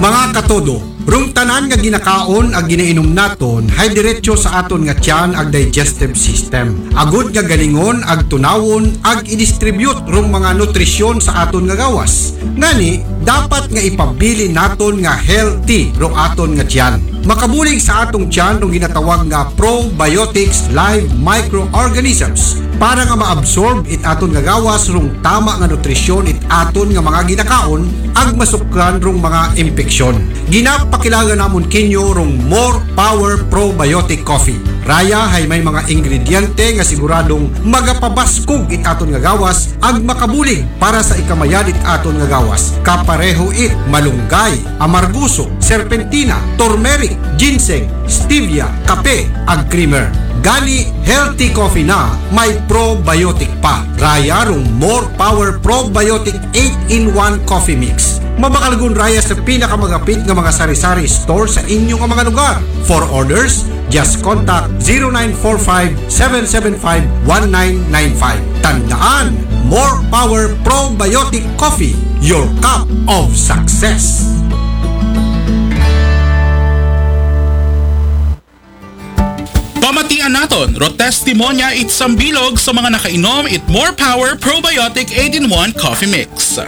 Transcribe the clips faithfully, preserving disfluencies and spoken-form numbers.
Mga katodo, rong tanan nga ginakaon ag ginainom naton hay diretso sa aton nga tiyan ag digestive system. Agod nga galingon ag tunawon ag i-distribute rong mga nutrisyon sa aton nga gawas. Ngani, dapat nga ipabilin naton nga healthy rong aton nga tiyan. Makabulig sa atong tiyan rong ginatawag nga probiotics live microorganisms para nga maabsorb it aton nga gawas rong tama nga nutrisyon it aton nga mga ginakaon ag masukran rong mga impeksyon. Ginapakilaga namon kinyo rong More Power Probiotic Coffee. Raya hay may mga ingrediente nga siguradong magapabaskog it aton nga gawas ag makabulig para sa ikamayad it aton nga gawas. Kapareho it malunggay, amarguso, serpentina, turmeric, ginseng, stevia, kape, ag creamer. Gani, healthy coffee na may probiotic pa. Raya rong More Power Probiotic eight-in-one Coffee Mix. Mabakal gun raya sa pinakamagapit nga mga sari-sari store sa inyo nga mga lugar. For orders, just contact zero nine four five, seven seven five, one nine nine five. Tandaan, More Power Probiotic Coffee, your cup of success. Pamatian naton, ro testimonya it sambilog sa mga nakainom it More Power Probiotic eight-in-one Coffee Mix.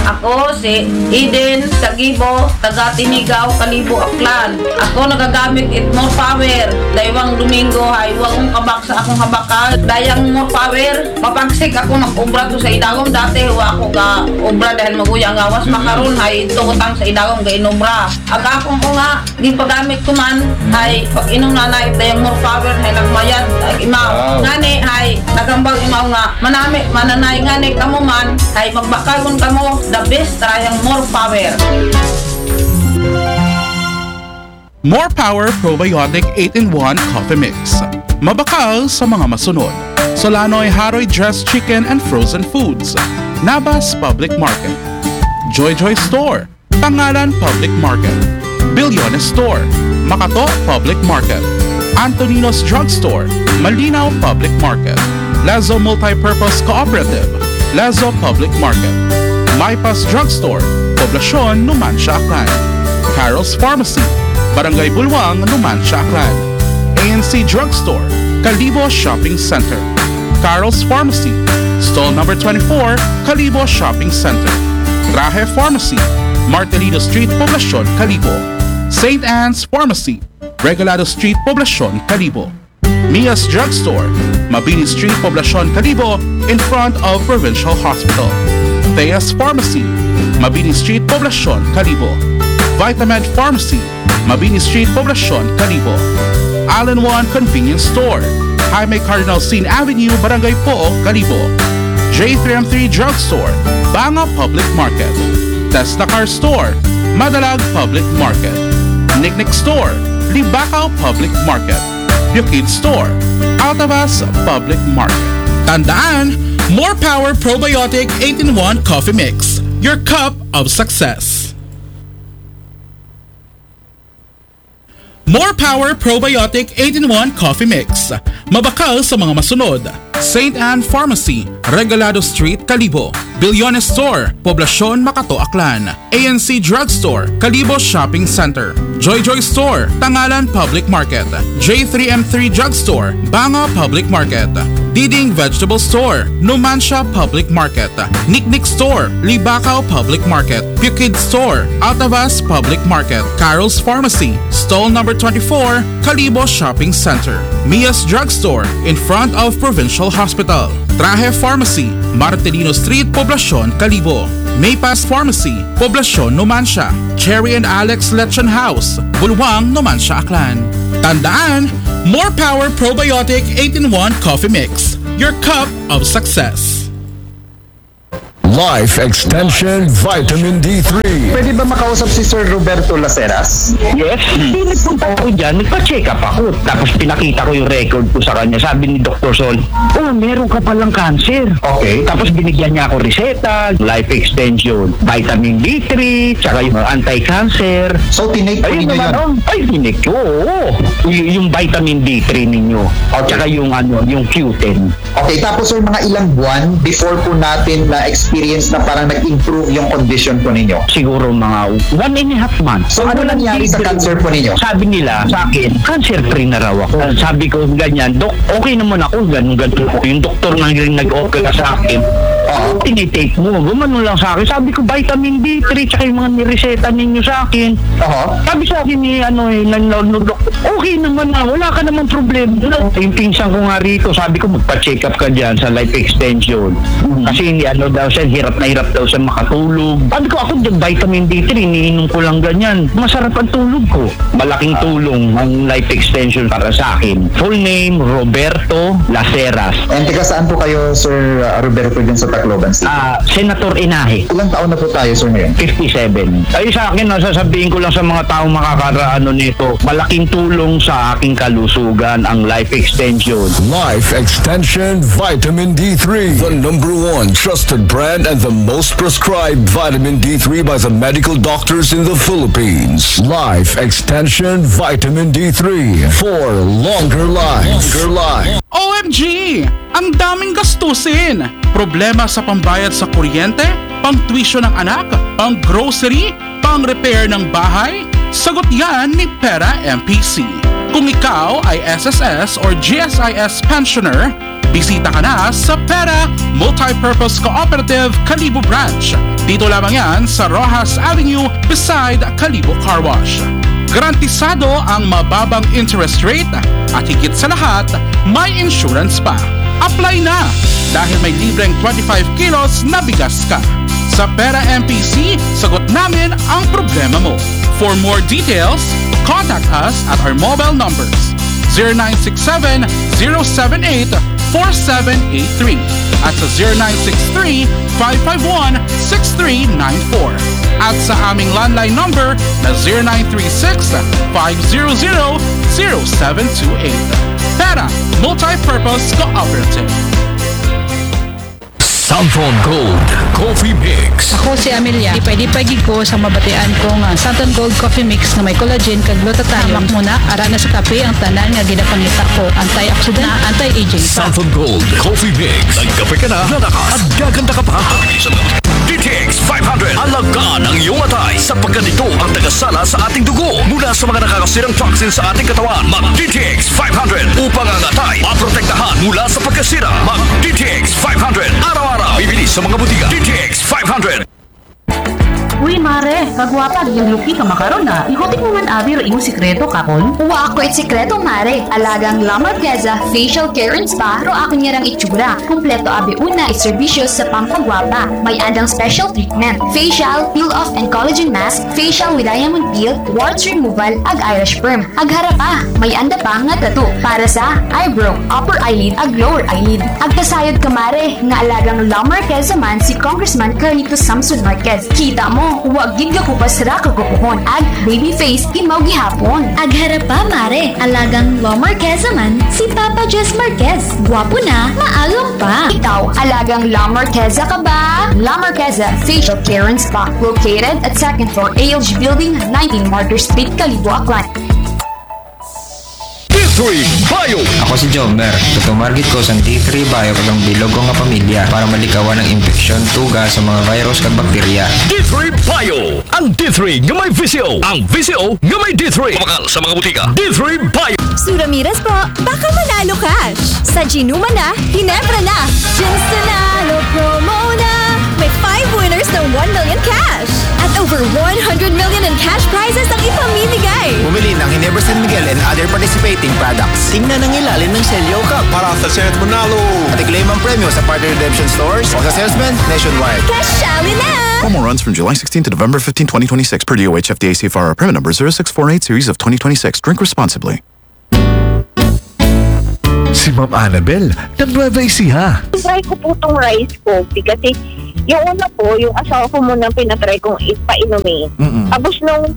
Ako si Eden Sagibo, taga Tinigaw, Kalibo, Aklan. Ako nagagamit it More Power. Daywang Domingo hay wagong kabak sa akong habakal. Dayang More Power, mapagsik ako mag-obra to sa idagom. Dati wa ako ga obra dahil maguya ang gawas. Makaron hay tuutang sa idagom ga inobra. Aga akong ko nga gipagamit ko man hay pag-inom na na ito yung more power hay nagmayad ag imaw. Wow. Ngani hay nagambal imaw nga manami mananay ngani kamo man hay magbakagon kamo the best try ang more power. More Power Probiotic eight-in-one Coffee Mix. Mabakal sa mga masunod. Solanoy Haroy Dressed Chicken and Frozen Foods. Nabas Public Market. Joy Joy Store. Pangalan Public Market, Bilyones Store, Makato Public Market, Antonino's Drugstore, Malinaw Public Market, Lazo Multipurpose Cooperative, Lazo Public Market, Maipas Drugstore, Poblacion, Numancia, Aklan, Carol's Pharmacy, Barangay Bulwang, Numancia, Aklan, A N C Drugstore, Kalibo Shopping Center, Carol's Pharmacy, Stall Number twenty-four, Kalibo Shopping Center, Trahe Pharmacy, Martelino Street, Poblacion, Kalibo, Saint Anne's Pharmacy, Regalado Street, Poblacion, Kalibo, Mia's Drugstore, Mabini Street, Poblacion, Kalibo, in front of Provincial Hospital, Thea's Pharmacy, Mabini Street, Poblacion, Kalibo, Vitamed Pharmacy, Mabini Street, Poblacion, Kalibo, All-in-One Convenience Store, Jaime Cardinal Sin Avenue, Barangay Pook, Kalibo, J three M three Drugstore, Banga Public Market, Tesla Car Store, Madalag Public Market, Nicknick Store, Libacao Public Market, Bukid Store, Altavas Public Market. Tandaan, More Power Probiotic eight-in-one Coffee Mix, your cup of success. More Power Probiotic eight-in-one Coffee Mix. Mabakal sa mga masunod: Saint Anne Pharmacy, Regalado Street, Kalibo, Bilyones Store, Poblacion, Makato, Aklan, A N C Drugstore, Kalibo Shopping Center, Joy Joy Store, Tangalan Public Market, J three M three Drugstore, Banga Public Market, Diding Vegetable Store, Numancia Public Market, Nicknick Store, Libacao Public Market, Bukid Store, Altavas Public Market, Carol's Pharmacy, Stall Number twenty-four, Kalibo Shopping Center, Mia's Drugstore, in front of Provincial Hospital, Trahe Pharmacy, Martelino Street, Poblacion, Kalibo, Maypass Pharmacy, Poblacion, Numancia, Cherry and Alex Lechon House, Bulwang, Numancia, Aklan. Tandaan, More Power Probiotic eight-in-one Coffee Mix, your cup of success. Life Extension Vitamin D three. Pwede ba makausap si Sir Roberto Laceras? Yes. Hindi, nagpunta ako dyan, nagpa-check up ako. Tapos pinakita ko yung record ko sa kanya. Sabi ni Doktor Sol, "Oh, meron ka palang cancer." Okay. Tapos binigyan niya ako reseta, life extension, vitamin D three, tsaka yung anti-cancer. So, tinake po Ayun ninyo naman, yun? Oh, ay, tinik ko, oo. Y- yung vitamin D three ninyo. At saka yung, ano, yung Q ten. Okay, tapos sir, mga ilang buwan before po natin na-experience experience na parang nag-improve yung condition po ninyo? Siguro mga one and a half months. So, ano nangyari sa cancer po ninyo? Sabi nila sa akin, cancer free na raw ako. Sabi ko ganyan, "Dok, okay naman ako, ganun ganun ako." Yung doktor na rin nag-opera sa akin, "Ano tinitake mo?" Gumano lang sa akin. Sabi ko, "Vitamin D three, tsaka yung mga nireseta ninyo sa akin." Aha. Sabi sa akin ni ano eh, ng ng- ng doktor, "Okay naman na, wala ka naman problema." Yung pinsan ko nga rito, sabi ko, "Magpa-check up ka dyan sa life extension." Kasi hindi ano daw siya, hirap na hirap daw siya makatulog. Sabi ko, "Ako, vitamin D three, iniinom ko lang ganyan. Masarap ang tulog ko." Malaking tulong ang life extension para sa akin. Full name, Roberto Laceras. And taga saan po kayo, Sir uh, Roberto, dyan sa Tacloban City? Ah, Senator Inahe. Ilang taon na po tayo, sir, ngayon? fifty-seven. Ay, sa akin, nasasabihin ko lang sa mga taong makakaraano nito, malaking tulong sa aking kalusugan ang life extension. Life Extension Vitamin D three, the number one trusted brand and the most prescribed vitamin D three by the medical doctors in the Philippines. Life Extension Vitamin D three for longer life. Longer life. O M G! Ang daming gastusin! Problema sa pambayad sa kuryente, pang tuition ng anak, pang grocery, pang repair ng bahay? Sagot yan ni Pera M P C. Kung ikaw ay S S S or G S I S pensioner, bisita ka na sa Pera Multipurpose Cooperative Kalibo Branch. Dito lamang yan sa Rojas Avenue beside Kalibo Car Wash. Garantisado ang mababang interest rate at higit sa lahat, may insurance pa. Apply na! Dahil may libreng twenty-five kilos na bigas ka. Sa Pera M P C, sagot namin ang problema mo. For more details, contact us at our mobile numbers zero nine six seven, zero seven eight, four seven eight three at sa zero nine six three, five five one, six three nine four at sa aming landline number na zero nine three six, five zero zero, zero seven two eight. Pera Multipurpose Cooperative. Santon Gold Coffee Mix. Ako si Amelia. Di pwede pwede ko sa mabatian ko nga Santon Gold Coffee Mix nga may collagen kag glutathione. Hamak muna, ara na sa kape ang tanan nga ginapangita ko. Antioxidant, anti-aging. Santon Gold Coffee Mix. Nagkape ka na, lalakas, at gaganda ka pa. D T X five hundred. Alagaan ang iyong atay sapagkat ito ang tagasala sa ating dugo mula sa mga nakakasirang toxin sa ating katawan. Mag D T X five hundred upang ang atay maprotektahan mula sa pagkasira. Mag D T X five hundred. Araw-araw. Bibili sa mga butika. D T X five hundred. Uy, mare, kagwapa, yung lupi ka makaron na. Ikutik mo man abi ro imong sikreto, kapon? Wa ako it sikreto, mare. Alagang La Marqueza Facial Care and Spa ro akon ngarang itsura. Kompleto abi una it serbisyo sa pampagwapa. May andang special treatment. Facial, peel off and collagen mask, facial with diamond peel, warts removal, ag eyelash perm. Ag hara pa, may anda pa nga tattoo para sa eyebrow, upper eyelid, ag lower eyelid. Ag kasayod ka, mare, nga alagang La Marqueza man si Congressman Carlito Samson Marquez. Kita mo, wa gid gakupas ra kagupuhon ag baby face imaw gihapon. Ag hara pa, mare, alagang La Marqueza man si Papa Jess Marquez. Gwapo na, maagom pa. Ikaw, alagang La Marqueza ka ba? La Marqueza Facial Care and Spa, located at second floor A L G Building, nineteen Martyr Street, Kalibo, Aklan. D three Bio. Ako si Jomer. Tutumargit ko sa D three Bio kag ang bilog ko nga pamilya para malikawan ang impeksyon, tuga sa mga virus kag bakterya. D three Bio. Ang D three nga may V C O. Ang V C O nga may D three. Mabakal sa mga butika. D three Bio. Sue Ramirez po, baka manalo cash! Sa Ginuma na, Ginebra na! Ginstanalo promo na! May five winners ng one million cash! At over one hundred million in cash prizes ang ipamimigay! Bumili ng Ginebra San Miguel and other participating products. Tingnan ang ilalim ng selyo cup para sa chance manalo. At i-claim ang premyo sa partner redemption stores o sa salesman nationwide. Cash Rally na! Promo runs from July sixteenth to November fifteenth, twenty twenty-six, per D O H F D A C F R, permit number zero six four eight series of twenty twenty-six. Drink responsibly. Si Ma'am Annabel, ng Nueva Ecija. Try ko po itong rice coffee kasi yung una po, yung asawa ko muna ang pinatry kong ipainumin. Mm-mm. Tapos nung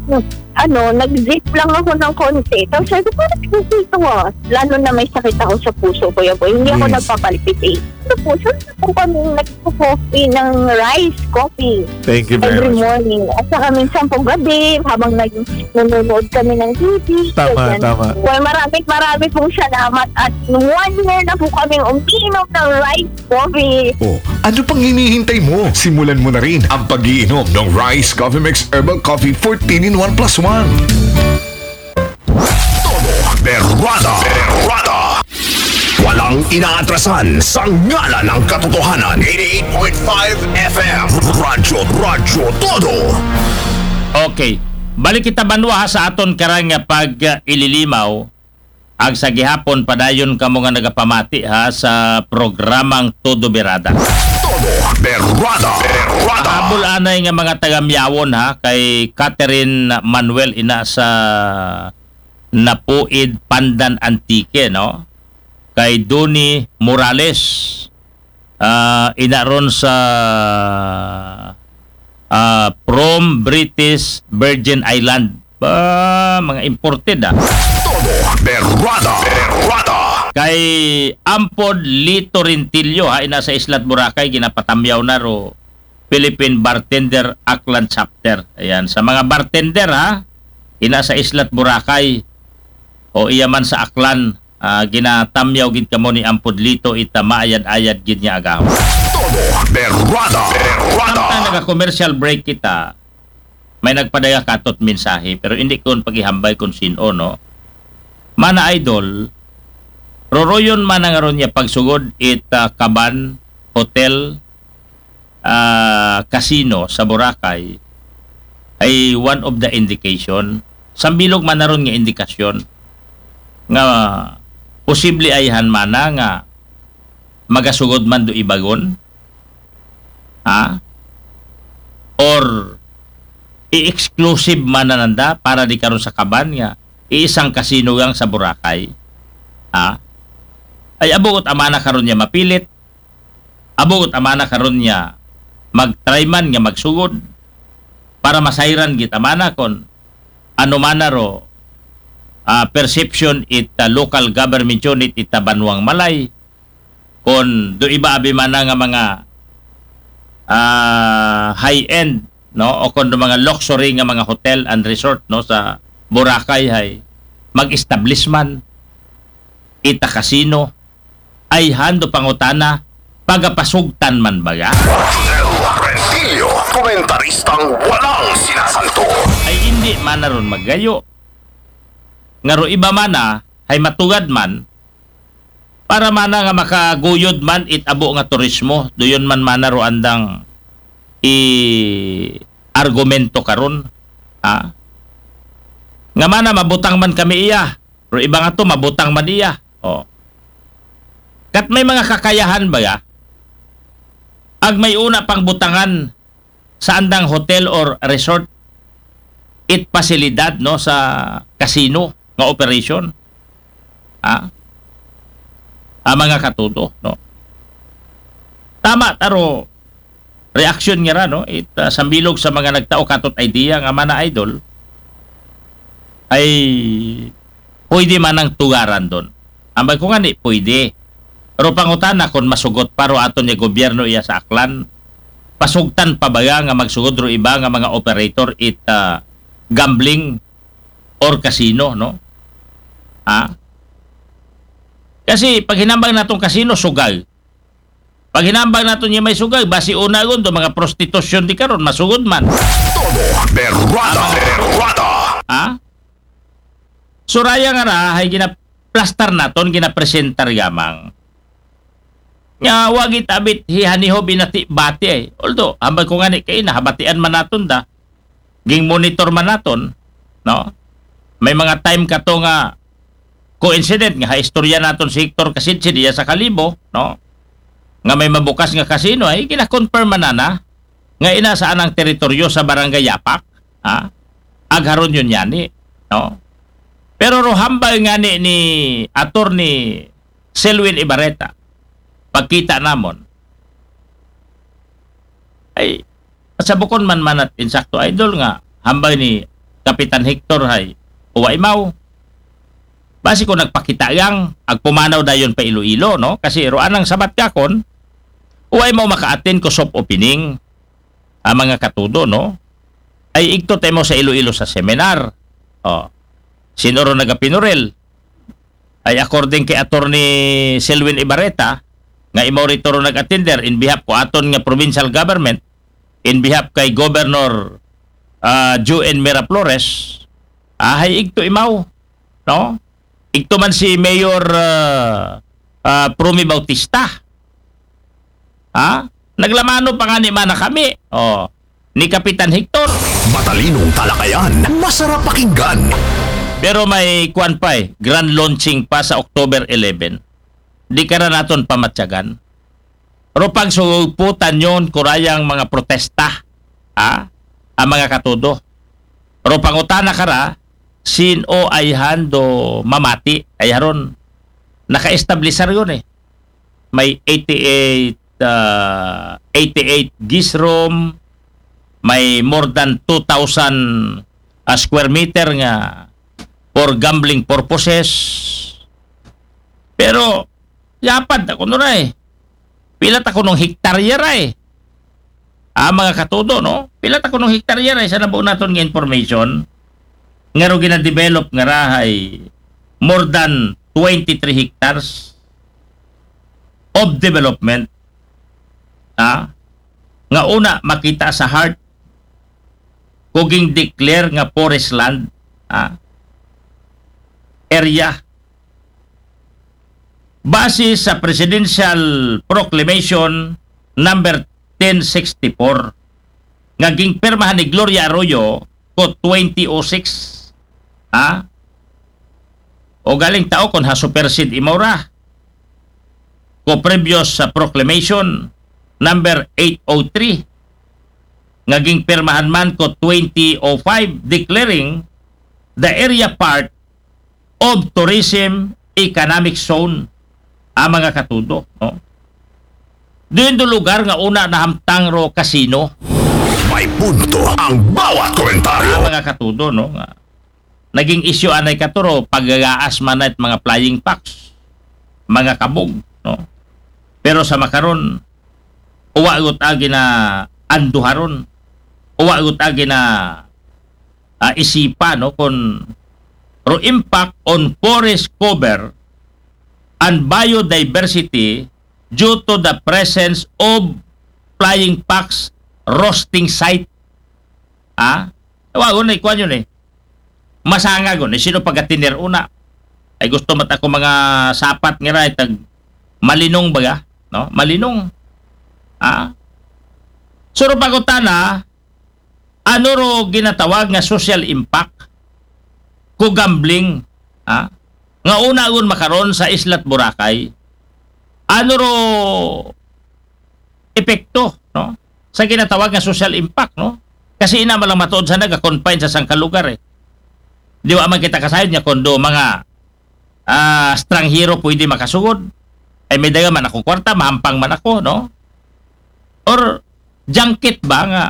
ano, nag-zip lang ako ng konti. Tapos sabi ko, "Parang hindi ito ah." Lalo na may sakit ako sa puso, Kuya Boy. Hindi ako Yes. nagpapalpitate. Ito po, saan po kami nagpo-coffee ng rice coffee? Thank you very Every much. Morning. At saka minsan po gabi, habang nag-, nanonood kami ng T V. Tama, ganyan. Tama. Well, maraming maraming pong salamat at one year na po kaming umiinom ng rice coffee. Oh, ano pang hinihintay mo? Simulan mo na rin ang pag-iinom ng Rice Coffee Mix Herbal Coffee fourteen in one plus one. Todo Berrada. Berrada. Walang inaatrasan sa ngalan ng katotohanan. Eighty-eight point five F M. Radyo, Radyo Todo. Okay. Balik kita banwa ha, sa aton karang nga pag-ililimaw. Ag sa gihapon padayon kamo nga nagapamati ha sa programang Todo Birada. Todo Berrada. Berrada. Habol anay nga mga taga Miawon ha, kay Catherine Manuel ina sa Napuid, Pandan, Antique, no? Kay Doni Morales, ah, ina ron sa, ah, from British Virgin Island. Ba, mga imported ah. Todo Berrada. Berrada. Kay Ampod Lito Rentillo ha, ina sa Islat Boracay, ginapatamyaw na ro Philippine Bartender Aklan Chapter. Ayan, sa mga bartender ha, ina sa Islat Boracay o iya man sa Aklan, ah, ginatamyaw gid kamo ni Ampod Lito ita maayad-ayad gid nga agahon. Todo Berrada. Berrada. Samtang naga-commercial break kita, may nagpadaya katot mensahe, pero hindi ko pagihambay kung sino, no? Mana Idol, roroyon man ang aron niya pagsugod it ah, Kaban Hotel, ah, Casino sa Boracay ay one of the indication. Sambilog man aron nga indikasyon nga posible ayhan mana nga magasugod man do ibagon. Ha? Or i-exclusive man na nanda para di karon sa Kaban nga iisang kasino gang sa Boracay. Ha? Ay abuot amana karon niya mapilit. Abuot amana karon niya mag-try man nga magsugod para masayran gid amana kon ano man na ro ah, perception it ah, local government unit it ah, Banwang Malay kon do iba abi mana nga mga ah, high-end, no, o kon do mga luxury nga mga hotel and resort, no, sa Boracay hay mag-establish man ita casino. Ayhan do pangutana, pagapasugtan man baga? Rentillo, komentaristang walang sinasanto. Ay hindi man na ron maggayo. Nga ro iba mana hay matugad man para mana nga makaguyod man it abo nga turismo, duyon man mana ro andang i argumento karon. Ha? Nga mana mabutang man kami iya, ro iba nga to mabutang man iya. Oh. Kat may mga kakayahan baga? Ag may una pang butangan sa andang hotel or resort it pasilidad, no, sa casino nga operation. Ha? Ah, mga katuto, no? Tama taro reaksyon nga ra, no? It ah, sambilog sa mga nagtao katot idea nga mana idol ay pwede man ang tugaran don. Ambay ko nga ni pwede. Pero pangutana kung masugot pa ro aton nga gobyerno iya sa Aklan. Pasugtan pa ba nga magsugod ro iba nga mga operator it ah, gambling or casino, no? Ha? Kasi paghinambang natong casino, sugay. Paghinambang naton niya may sugay, basi una gun do mga prostitution di karon masugod man. Todo Berrada. Berrada. Ha? Suraya nga ra hay ginaplastar naton, ginapresentar gamang. Nga wagi tabit hihaniho binati-bati ay. Although, hambal ko nga ni kay nahabatian man naton da. Ging monitor man naton, no? May mga time kato nga coincident nga ha istorya naton si Hector Kasidsid iya sa Kalibo, no? Nga may mabukas nga casino ay gina-confirm man na nga ina sa anang teritoryo sa Barangay Yapak, ha? Agharon yun yani, no? Pero rohambal nga ni, ni Attorney Selwyn Ibarreta, pagkita namon, ay sa bukon man manat insakto idol nga hambal ni Kapitan Hector hay uwa imaw. Basi ko nagpakita yang agpumanaw dayon pa Iloilo, no? Kasi ro anang sabat kakon, Way mo maka-attend ko soft opening, a mga katudo, no? Ay igto ta imaw sa Iloilo sa seminar. O, sin-o ro nagapinuril? Ay according kay Attorney Selwyn Ibarreta, nga imaw rito ro nag-attender in behalf ko aton nga provincial government, in behalf kay Governor, ah, Joen Miraflores, ahay igto imaw, no? Igto man si Mayor, ah, ah, Promy Bautista. Ha? Naglamano pa nga ni mana kami. O, ni Kapitan Hector. Matalinong talakayan, masarap pakinggan. Pero may kuwan pa eh, grand launching pa sa October eleven. Di ka na naton pamatyagan. Ro pagsuguputan yon kurayang mga protesta, ha? Ang mga katudo. Ro pangutana kara, sin-o ayhan do mamati, ay haron. Naka-establisar yon eh. May eighty-eight, ah, eighty-eight guest room, may more than two thousand, ah, square meter nga for gambling purposes. Pero, yapad ta kuno ra eh. Pila ta kunong hektarya ra eh. Ah, mga katudo, no? Pila ta kunong hektarya ra eh, sa nabuo naton nga information, nga ro gina-develop nga ra hay more than twenty-three hectares of development, ah, nga una makita sa heart ko ging-declare nga forest land, ah, area. Base sa Presidential Proclamation number ten sixty-four, nga gingpirmahan ni Gloria Arroyo ko twenty oh six. Ha? O galing tao kon ha supersede imaw ra ko previous sa Proclamation number eight oh three, nga gingpirmahan man ko twenty oh five, declaring the area part of tourism economic zone, ang mga katudo, no? Diin do lugar nga una nahamtang ro casino. May punto ang bawat komentaryo. Ang mga katudo, no? Nga naging issue anay kato ro, pagagaas man it mga flying fox, mga kabog, no? Pero sa makaron, uwa got agi na anduharon, uwa got agi na, ah, isipa, no, kon ro impact on forest cover and biodiversity due to the presence of flying fox roosting site. Ah? Wa, una, ikuan yun eh. Masanga gon, eh, sino pagatinir una? Ay gusto mat ako mga sapat nga ra, tag malinong baga, no? Malinong. Ah? Suro pagutana, ano ro ginatawag nga social impact ko gambling, ha? Nga una gon makaron sa Islat Boracay. Ano ro epekto, no? Sa ginatawag nga social impact, no? Kasi ina malang matuod sa naga-confine sa sangka lugar eh. Di ba man kita kasayod nga kondo mga, ah, estranghero pwede makasugod? Ay may daga man akong kwarta, mahampang man ako, no? Or junket ba nga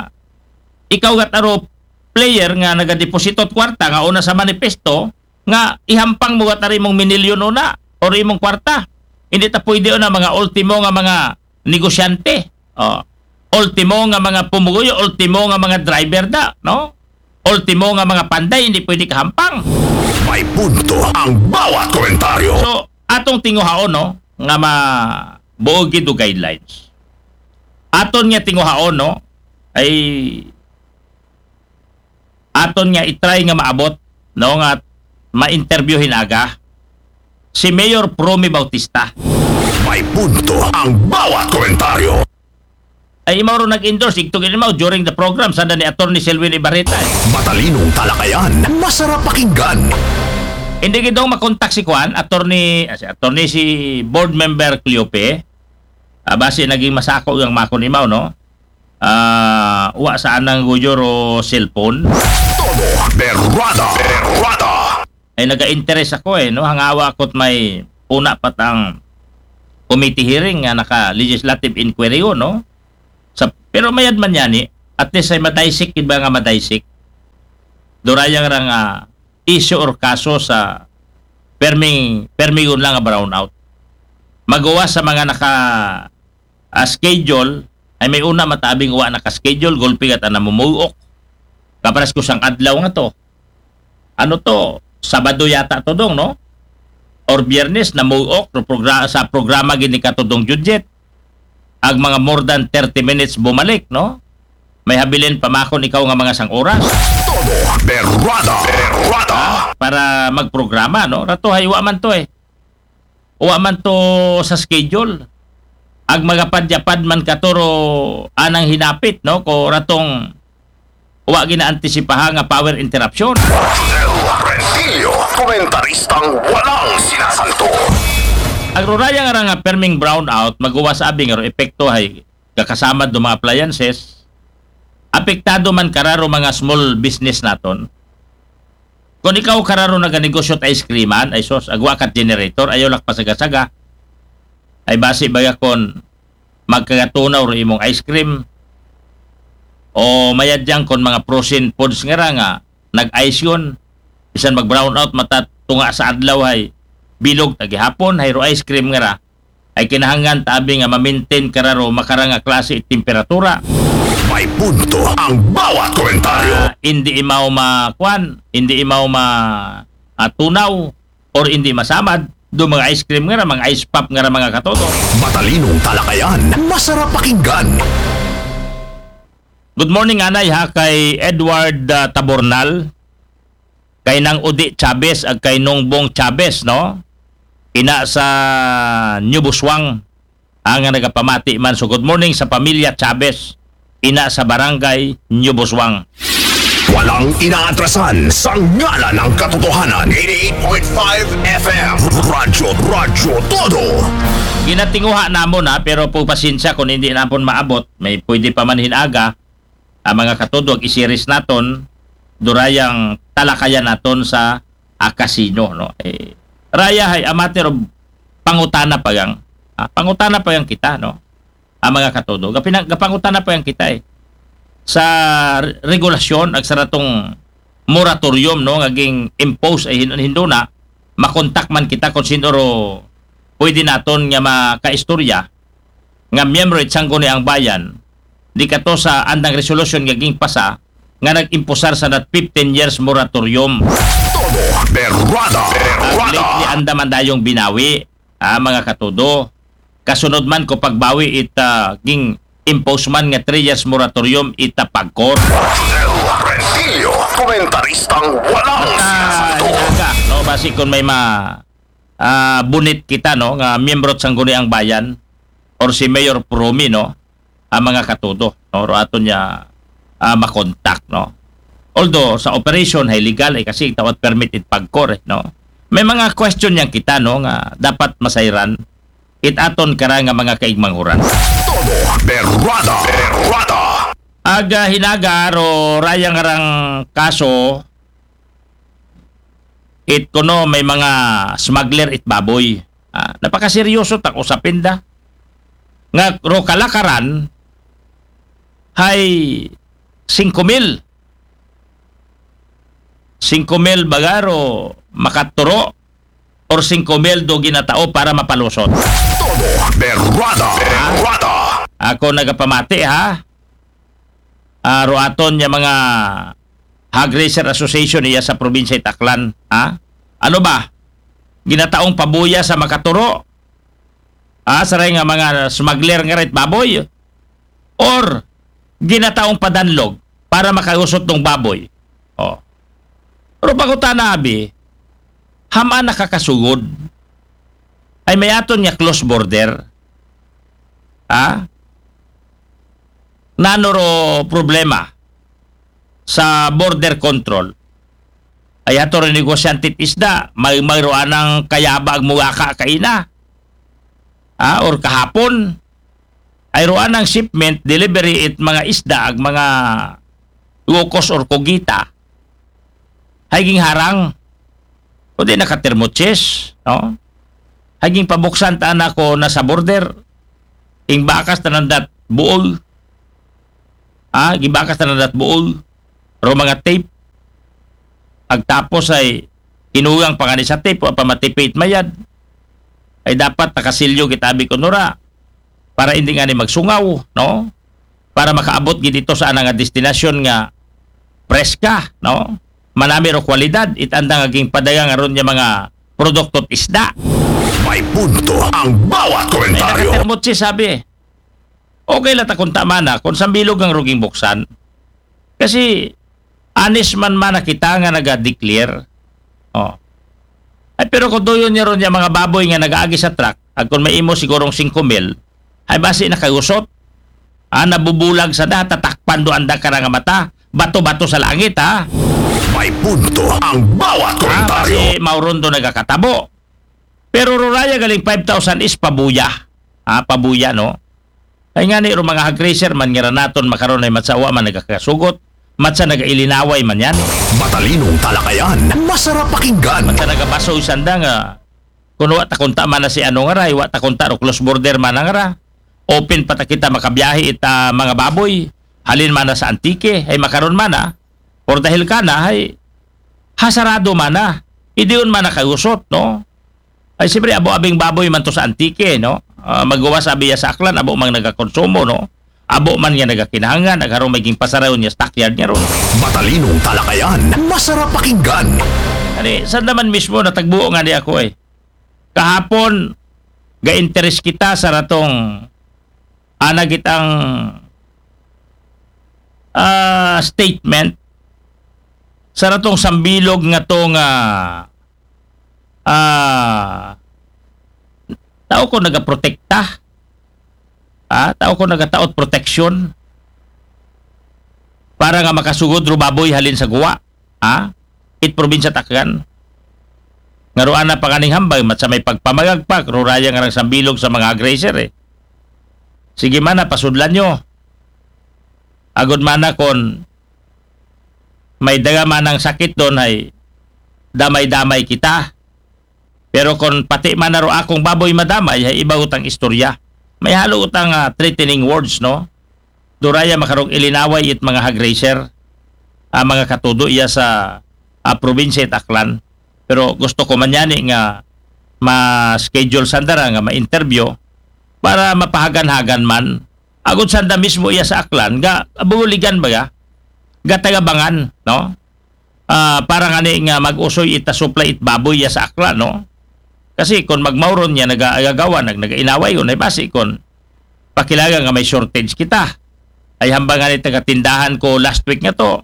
ikaw gat aro player nga nagadeposito kwarta nga una sa manifesto nga ihampang mo gat ari mong minilyon una or imong kwarta. Hindi ta pwede una mga ultimo nga mga negosyante. Oh. Ultimo nga mga pumugoy, ultimo nga mga driver da, no? Ultimo nga mga panday, hindi pwede kahampang. May punto ang bawat komentaryo. So, atong tinguhaon, no, nga ma buo gid og guidelines. Aton nga tinguhaon, no, ay aton nga i-try nga maabot, no, nga ma-interview hin aga si Mayor Promy Bautista. May punto ang bawat komentaryo. Ay, imaw ro nag-endorse, igtog imaw during the program, sanda ni Attorney Selwyn Ibarreta, eh. Matalinong talakayan, masarap pakinggan. Hindi gid daw makontak si Kwan, Attorney, ah, si Attorney, si Board Member Cleope. Ah, basi naging masako yung makon imaw, no? Ah, wa sa anang guyo ro cellphone. Todo berwada. Berwada. Ay naga-interes ako eh, no? Hangawa ako't may una pa tang committee hearing nga naka legislative inquiry yun, no? Sa, pero mayad man yani, at least ay madaysik, iba nga madaysik. Durayang ra nga issue or kaso sa perming, permigon lang nga brownout. Magawa sa mga naka ah, schedule, ay may una matabi nga wa naka-schedule, gulpi nga ta namumuok. Kapares ko sang adlaw nga to. Ano to? Sabado yata to, Dong, no? Or Biyernes, namuok, no, progra-, sa programa gini ka to, Dong Judget. Ag mga more than thirty minutes bumalik, no? May habilin pa man kon ikaw nga mga sang oras. Todo berrada, berrada. Para magprograma, no? Rato hay wa man to eh. Wa man to sa schedule. Ag magapad-yapad man katuro anang hinapit, no? Ko ratong wa ginaantisipaha nga power interruption. Del Rentillo, komentaristang walang sinasanto. Ag ruraya nga ra nga perming brownout, maguwas abi nga ro epekto hay gakasamad do mga appliances, apektado man kararo mga small business naton. Kung ikaw kararo naganegosyo at ice creaman, ay sos, agwa kat generator, ayaw lak pasaga-saga. Ay basi baga kon magkagatunaw ro imong ice cream. O mayad yang kon mga frozen foods nga ra nga nag-ice yun. Bisan mag-brownout, matatunga sa adlaw hay bilog tagihapon, hay ro ice cream nga ra. Ay kinahanglan ta abi nga ma-maintain kararo makarang nga klase it temperatura. May punto ang bawat komentaryo. Ah, hindi imaw ma-, kwan, hindi imaw ma-, ah, tunaw or hindi masamad do mga ice cream nga ra, mga ice pop nga ra, mga katodo. Matalinong talakayan, masarap pakinggan. Good morning, anay, ha, kay Edward, ah, Tabornal, kay Nang Udi Chavez, ag kay Nongbong Chavez, no? Ina sa New Buswang, ang nagapamati man. So, good morning sa pamilya Chavez, ina sa barangay New Buswang. Walang inaatrasan sa ngalan ng katotohanan. Eighty-eight point five F M. Radyo, Radyo Todo. Ginatinguha namon, ha, pero po pasensya kung hindi napon maabot. May pwede pa man hinaga, ang mga katodo, ag isiris naton, durayang talakayan naton sa, ah, casino, no? Eh, raya hay a matter of pangutana pa yang, ah, pangutana pa yang kita, no? Ang mga katodo. Gapina-, gapangutana pa yang kita eh. Sa re-, regulasyon, ag sa ratong moratorium, no? Nga ging-impose ay hin-, hinduna, makontak man kita kung sino ro pwede naton nga makaistorya nga miyembro it Sangguniang Bayan, di kato sa andang resolusyon nga gingpasa nga nag-imposar sa that fifteen years moratorium. Todo berrada, berrada. Lately, anda man dayong binawi, ah, mga katodo. Kasunod man ko pagbawi it, ah, ging-impose man nga three years moratorium it, ah, PAGCOR. Del Rentillo, komentaristang walang sinasagot. Hinaga, no, basi kung may ma-, ah, bunit kita, no, nga miyembro sa Sangguniang Bayan or si Mayor Promi, no, ang mga katodo, no, ro aton niya, ah, makontak, no. Although sa operation hay legal ay kasi tawat permit it PAGCOR, eh, no. May mga question yang kita, no, nga dapat masayran it aton kara nga mga kaigmanghuran. Todo berrada, berrada. Aga hinaga ro rayang arang kaso, it kuno may mga smuggler it baboy. Ah, napakaseryoso tak usapin da. Nga ro kalakaran hay singko mil. Singko mil baga ro makaturo or singko mil do ginatao para mapalusot. Todo berrada, berrada. Ako nagapamati, ha? Ah, ro aton niya mga Hog Raisers Association iya sa probinsya it Aklan, ha? Ano ba? Ginataong pabuya sa makaturo? Ah, saray nga mga smuggler nga rit baboy? Or ginataong padanlog para makausot ng baboy? Oh. Pero pangutana abi, hamaan nakakasugod? Ay may aton nga close border? Ha? Nano ro problema sa border control? Ay ato rin negosyante it isda, may, may ro anang kayaba ag muwaka kaina. Ha? Or kahapon, ay ro anang shipment, delivery it mga isda ag mga locos or cogita. Hay gingharang. O di nakatermochis, no? Hay gingpabuksan ta na ko na sa border. Ing bakas tanan dat buol. Ah, gibakas tanan dat buol. Ro mga tape. Agtapos ay inugang pa kani sa tape, wa pa matipit mayad. Ay dapat nakasilyo kita abi ko nura. para hindi ngani magsungaw, no? Para makaabot gid ito sa ana nga destinasyon nga preska, no? Manami ro kwalidad, it anda nga ginpadayag nga ron nga mga produkto at isda. May punto ang bawat Ay, komentaryo. nakatermot siya, sabi. Okay lang ta kung tama na, kung sambilog ang ruging buksan. Kasi, honest man man na kita nga naga-declare. Oh. Ay, pero kung tuyon niya ron yung mga baboy nga nag-aagi sa truck, at kung may imo sigurong singko mil, ay basi nakagusot. Ah, nabubulag sa da, tatakpan do anda ka nga mata. Bato-bato sa langit, ha? May punto ang bawat Ah, komentaryo. basi mauron do nagakatabo. Pero ruraya galing five thousand is pabuya. Ah, pabuya, no? Ay nga ni, ro mga hog raiser man nga ranaton makaron ay matsawa man nagakasugot. Matsa nagailinaway man yan. Matalinong talakayan, masarap pakinggan. Matsa nagabaso isanda nga kung wa ta kunta man na si ano nga ra, wa ta kunta ro close border man nga ra. Open pa ta kita makabiyahe ita mga baboy. Halin man na sa Antique, ay makaron man na. Or dahil ka na, ay hasarado man na. Idiyon man na kayusot, no? Ay siyempre, abo abing baboy man to sa Antique, no? Ah, magawas abi ya sa Aklan, abo mang nagakonsumo, no? Abo man nga nagakinahangan, nagharong may ginpasarayon niya stockyard niya ron. Matalinong talakayan, masarap pakinggan. Ani, saan naman mismo natagbuo nga ni ako eh. Kahapon, ga-interest kita sa ratong anagitang ah, statement sa ratong sambilog nga to nga ah, tao ko nagaprotekta, ah, tao ko nagataot proteksyon para nga makasugod ro baboy halin sa guwa, ha? It probinsya Taklan. Nga ruana pa kaning hambay, mat sa may pagpamagagpak, ruraya nga rang sambilog sa mga hog raiser eh. Sige man na, pasudlan nyo. Agod man na kon may daga man ang sakit doon ay damay-damay kita. Pero kon pati man na ro akong baboy madamay, ay iba utang istorya. May halo utang ah, threatening words, no? Duraya makarong ilinaway it mga hog raiser, ah, mga katudo iya sa ah, probinsya it Aklan. Pero gusto ko man yani nga ma-schedule sandara nga ma-interview para mapahagan-hagan man. Agod sanda mismo iya sa Aklan, ga buligan ba ga? Ga tagabangan, no? Ah, para ngani nga mag-usoy ita supply it baboy iya sa Aklan, no? Kasi kung magmauron niya, nagagagawa, nag nagainaway, unay basi kung pakilaga nga may shortage kita. Ay hambang ngani taga tindahan ko last week nga to.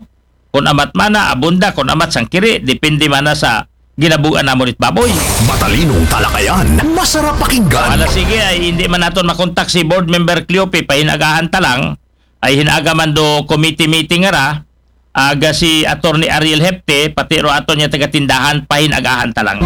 Kung amat mana, abunda, kung amat sangkiri, depende mana sa ginabugan namon it baboy. Matalinong talakayan, masarap pakinggan. Ala sige, ay hindi man naton makontak si Board Member Cleope, pahinagahan ta lang, ay hinaga man do committee meeting nga ra, aga si Attorney Ariel Hepte, pati ro aton niya taga tindahan, pahinagahan ta lang.